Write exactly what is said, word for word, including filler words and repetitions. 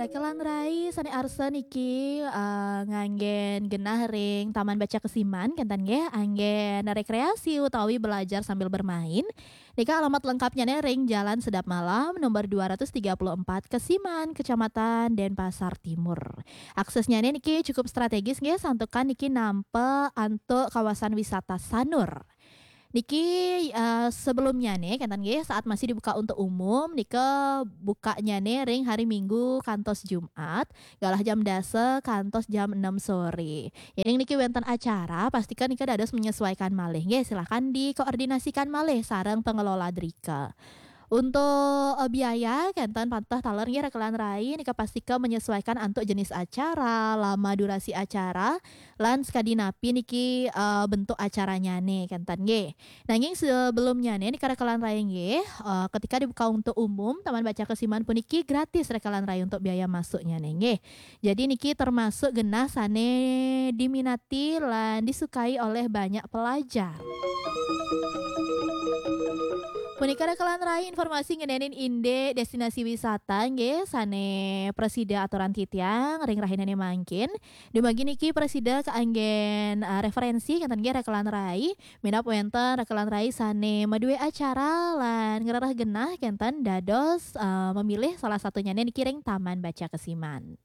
Rekelan rai sane arsa niki eh, nganggen genah ring Taman Baca Kesiman, kenten nggih, anggen rekreasi utawi belajar sambil bermain. Nika alamat lengkapnyane ring Jalan Sedap Malam, nomor dua ratus tiga puluh empat, Kesiman, Kecamatan Denpasar Timur. Aksesnyane niki cukup strategis nggih, santukan niki nampa antuk kawasan wisata Sanur. Niki eh, sebelumnyane kenten nggih, saat masih dibuka untuk umum, nika bukanyane ring hari Minggu kantos Jumat, galah jam dasa kantos jam enam sore. Yening niki wenten acara, pastikan nika dados menyesuaikan malih nggih, silahkan dikoordinasikan malih sareng pengelola drika. Untuk eh, biaya kenten pantah taler nggih rekelan rai, nika pastika menyesuaikan antuk jenis acara, lama durasi acara, lan sakadi napi niki eh, bentuk acaranyane kenten nggih. Nanging sebelumnyane nika rekelan rai nggih, eh, ketika dibuka untuk umum, Taman Baca Kesiman puniki gratis rekelan rai untuk biaya masuknyane nggih. Jadi niki termasuk genah sane diminati lan disukai oleh banyak pelajar. Punika rekelan rai informasi ngenenin indik destinasi wisata nggih sane prasida aturan titiang ring rahinane mangkin. Dumugi niki prasida kaanggen eh, referensi kenten nggih rekelan rai, minab wenten rekelan rai sane madue acara lan ngrereh genah kenten dados eh, memilih salah satunyane niki ring Taman Baca Kesiman.